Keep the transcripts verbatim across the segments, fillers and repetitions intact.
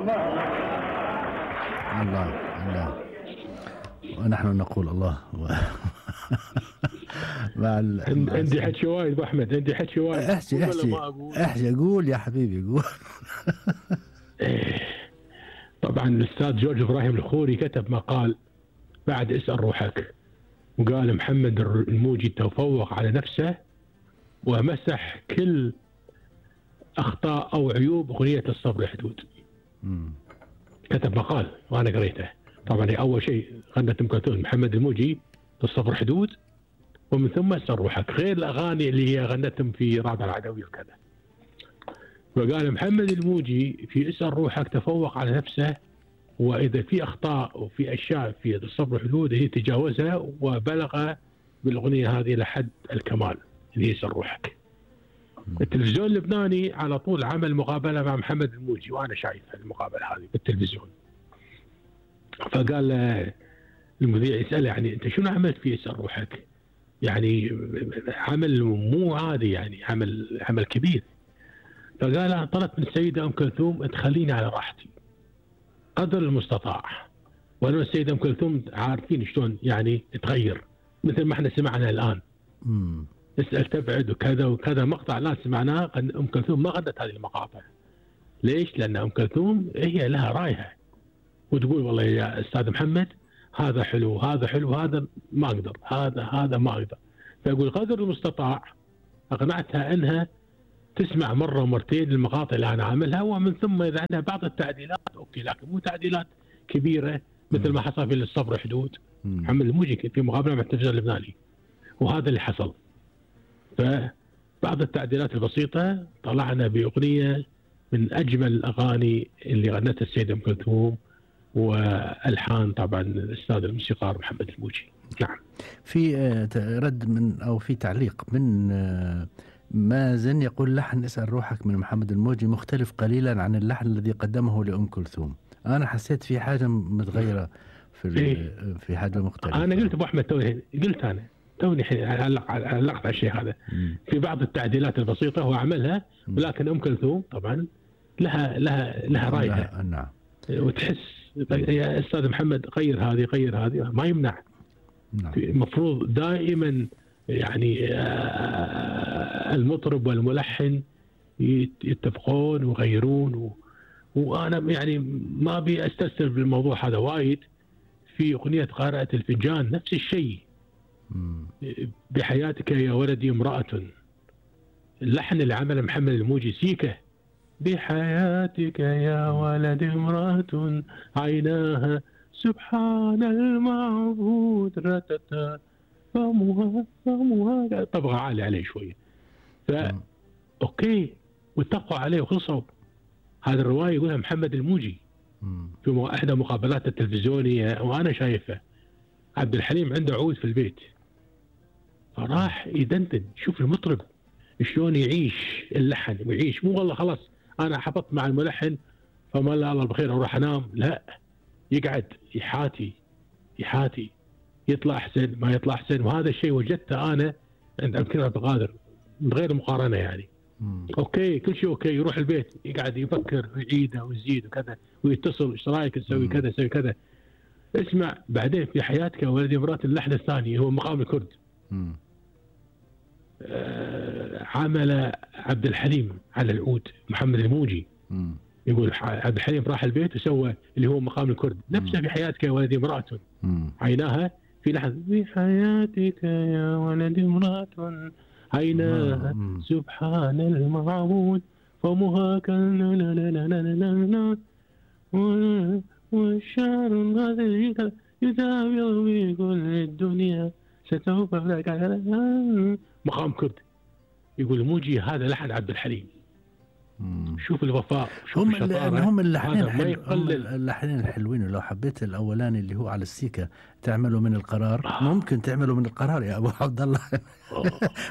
الله الله، ونحن نقول الله. مع ال... عندي حكي وايد ابو احمد، عندي حكي وايد. احكي احكي احكي قول يا حبيبي قول. طبعا الاستاذ جورج ابراهيم الخوري كتب مقال بعد اسأل روحك، وقال محمد الموجي تفوق على نفسه ومسح كل اخطاء او عيوب اغنية الصبر حدود. مم. كتب مقال وانا قريته. طبعا اول شيء غنت ام كلثوم محمد الموجي الصبر حدود، ومن ثم اسأل روحك، غير الاغاني اللي هي غنتهم في رابع العدوي وكذا. وقال محمد الموجي في اسأل روحك تفوق على نفسه، واذا في اخطاء وفي اشياء في الصبر حدود هي تجاوزها وبلغ بالاغنيه هذه لحد الكمال اللي هي اسأل روحك. التلفزيون اللبناني على طول عمل مقابله مع محمد الموجي وانا شايف المقابله هذه بالتلفزيون. فقال المذيع يسأله يعني انت شنو عملت في اسأل روحك؟ يعني عمل مو عادي، يعني عمل عمل كبير. فقال انا طلبت من السيده ام كلثوم تخليني على راحتي قدر المستطاع، وانا السيده ام كلثوم عارفين شلون يعني تغير مثل ما احنا سمعنا الان. امم اسال تبعد وكذا وكذا، مقطع الان سمعناه ام كلثوم ما غنت هذه المقاطع. ليش؟ لان ام كلثوم هي لها رايها وتقول والله يا استاذ محمد هذا حلو هذا حلو هذا ما اقدر هذا هذا ما اقدر. فيقول قدر المستطاع اقنعتها انها تسمع مرة ومرتين المقاطع اللي أنا عاملها، ومن ثم إذا عندها بعض التعديلات أوكي، لكن مو تعديلات كبيرة مثل ما حصل في الصبر حدود. محمد الموجي في مقابلة مع التلفزيون اللبناني وهذا اللي حصل. فبعض التعديلات البسيطة طلعنا بأغنية من أجمل الأغاني اللي غنتها السيدة أم كلثوم، والحان طبعا الأستاذ الموسيقار محمد الموجي. نعم. في رد من أو في تعليق من مازن يقول لحن اسأل روحك من محمد الموجي مختلف قليلا عن اللحن الذي قدمه لأم كلثوم. أنا حسيت في حاجة متغيرة في إيه؟ في حاجة مختلفة. أنا قلت أبو أحمد توني قلت أنا توني علقت على الشيء هذا. مم. في بعض التعديلات البسيطة هو عملها، ولكن أم كلثوم طبعا لها لها لها رايها. نعم. وتحس يا أستاذ محمد غير هذه غير هذه ما يمنع. نعم. المفروض دائما يعني المطرب والملحن يتفقون ويغيرون و... وأنا يعني ما أبي أستسر بالموضوع هذا وايد. في أغنية قارئة الفنجان نفس الشيء. بحياتك يا ولدي امرأة، اللحن اللي عمله محمد الموجي سيكة. بحياتك يا ولدي امرأة عيناها سبحان المعبود رتتا فمها فمها، طبقة عالية عليه شوية. فا أوكي واتفقوا عليه وخلصوا. هذا الرواية يقولها محمد الموجي في إحدى مقابلات التلفزيونية وأنا شايفه. عبد الحليم عنده عود في البيت، فراح يدندن شوف المطرب شلون يعيش اللحن ويعيش، مو والله خلاص أنا حفظت مع الملحن فما الله الله بخير أروح أنام، لا، يقعد يحاتي يحاتي يطلع أحسن ما يطلع أحسن. وهذا الشيء وجدته أنا عند أمكنة عبد القادر من غير مقارنة يعني. مم. أوكي كل شيء أوكي، يروح البيت يقعد يفكر ويعيده ويزيد وكذا ويتصل إيش رأيك نسوي كذا نسوي كذا. اسمع بعدين في حياتك يا ولدي مرات اللحن الثاني هو مقام الكرد. آه عمل عبد الحليم على العود محمد الموجي. مم. يقول عبد الحليم راح البيت وسوى اللي هو مقام الكرد نفسه. في حياتك يا ولدي امرأة عيناها في لحن في حياتك يا ولدي امرأة عيناها سبحان المعبود فمها كان لا لا لا لا لا لا والشعر هذا يداوي في كل الدنيا ستوقف لك مقام كرد. يقول الموجي هذا لحن عبد الحليم. مم. شوف الوفاء شوف هم الشطارة. هم اللحنين حل... هم اللحنين الحلوين. ولو حبيت الاولاني اللي هو على السيكة تعمله من القرار آه. ممكن تعمله من القرار يا ابو عبد الله.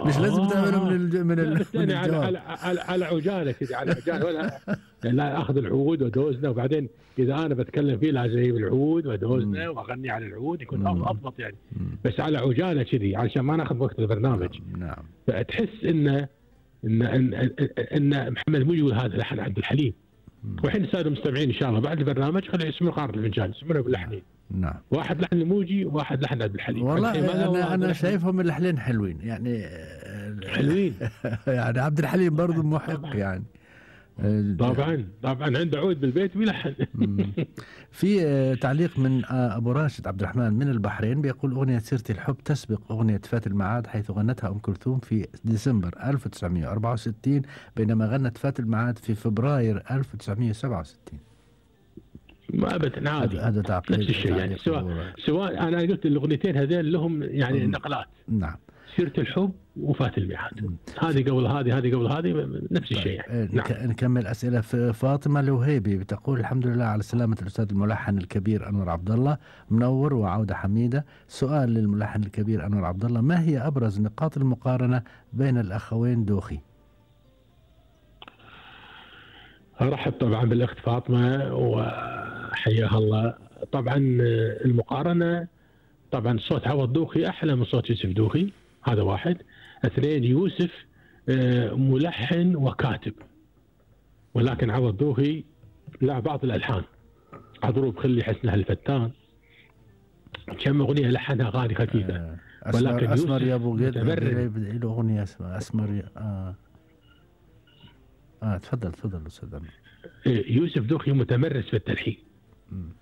مش لازم تعمله من الج... من, ال... من على على على, على عجاله كذا على عجاله ولا لا اخذ العود ودوزنا وبعدين اذا انا بتكلم فيه لازم اجيب العود ودوزنا واغني على العود يكون اضبط يعني. مم. بس على عجاله كذي علشان ما ناخذ وقت البرنامج. نعم. فتحس انه ان ان ان محمد الموجي يقول هذا لحن عبد الحليم. والحين الساده المستمعين ان شاء الله بعد البرنامج خلي يسمعون قارة الفنجان، يسمعونها باللحنين. نعم. واحد لحن الموجي وواحد لحن عبد الحليم. والله انا انا لحن... شايفهم اللحنين حلوين يعني. حلوين. يعني عبد الحليم برضه محق يعني. طبعا طبعا عنده عود بالبيت ويلحن. في تعليق من ابو راشد عبد الرحمن من البحرين بيقول اغنيه سيرة الحب تسبق اغنيه فات المعاد حيث غنتها ام كلثوم في ديسمبر ألف وتسعمئة وأربعة وستين بينما غنت فات المعاد في فبراير ألف وتسعمئة وسبعة وستين. ما ابدا عادي، هذا تعقيد نفس الشيء يعني. سواء سواء انا قلت الاغنيتين هذين لهم يعني نقلات. نعم. سيرة الحب وفات الميعاد، هذه قبل هذه هذه قبل هذه نفس الشيء يعني. نعم. نكمل اسئله. في فاطمه الوهيبي بتقول الحمد لله على سلامه الاستاذ الملحن الكبير انور عبد الله، منور وعوده حميده. سؤال للملحن الكبير انور عبد الله، ما هي ابرز نقاط المقارنه بين الاخوين دوخي؟ ارحب طبعا بالاخت فاطمه وحياها الله. طبعا المقارنه طبعا صوت عوض دوخي احلى من صوت يوسف دوخي، هذا واحد. اثنين، يوسف ملحن وكاتب، ولكن عوض دوخي له بعض الالحان، عضروب خلي حسنها الفتان، كم اغنيه لحنها اغاني خفيفه. أسمر ولكن اسمر يا ابو قيد له اغنيه اسمها اسمر يا اه اه تفضل تفضل استاذ عمر. يوسف دوخي متمرس في التلحين،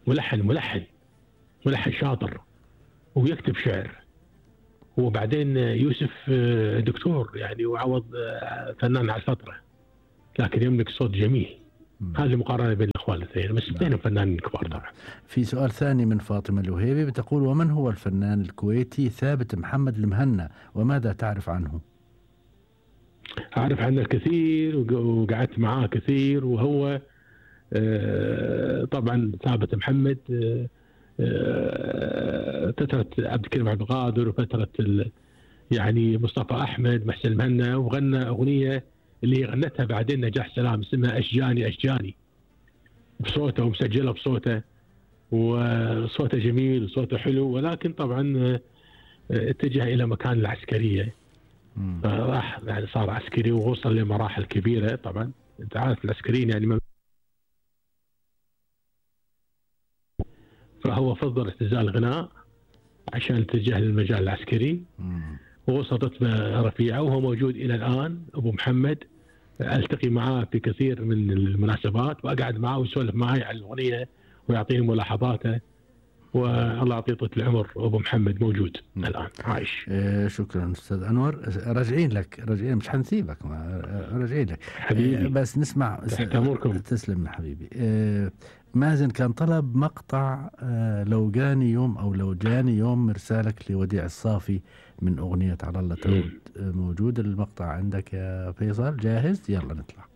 ملحن ملحن ملحن شاطر ويكتب شعر. وبعدين يوسف دكتور يعني وعوض فنان على الفترة، لكن يملك صوت جميل. هذه مقارنة بين الأخوان الاثنين، بس اثنين فنانين كبار طبعا. في سؤال ثاني من فاطمة الوهيبي بتقول ومن هو الفنان الكويتي ثابت محمد المهنا وماذا تعرف عنه؟ أعرف عنه الكثير وقعدت معاه كثير، وهو طبعا ثابت محمد فترة عبد الكريم عبد القادر وفترة يعني مصطفى أحمد محسن المهنا، وغنى أغنية اللي غنتها بعدين نجاح سلام اسمها أشجاني أشجاني بصوته ومسجلة بصوته، وصوته جميل وصوته حلو، ولكن طبعا اتجه إلى مكان العسكرية، راح يعني صار عسكري ووصل لمراحل كبيرة. طبعا أنت عارف العسكريين يعني، فهو فضل اعتزال الغناء عشان اتجه للمجال العسكري، ووصلت رفيعة وهو موجود إلى الآن. أبو محمد ألتقي معاه في كثير من المناسبات وأقعد معاه ويسولف معي عن الأغنية ويعطيني ملاحظاته، والله يعطيه طول العمر. أبو محمد موجود مم. الآن عايش. إيه شكرا أستاذ أنور، راجعين لك راجعين مش حنسيبك، راجعين لك حبيبي. إيه بس نسمع. تحت أمركم. تسلم يا حبيبي. إيه مازن كان طلب مقطع آه لو جاني يوم أو لو جاني يوم مرسالك لوديع الصافي من أغنية على الله تعود. موجود المقطع عندك يا فيصل؟ جاهز؟ يلا نطلع.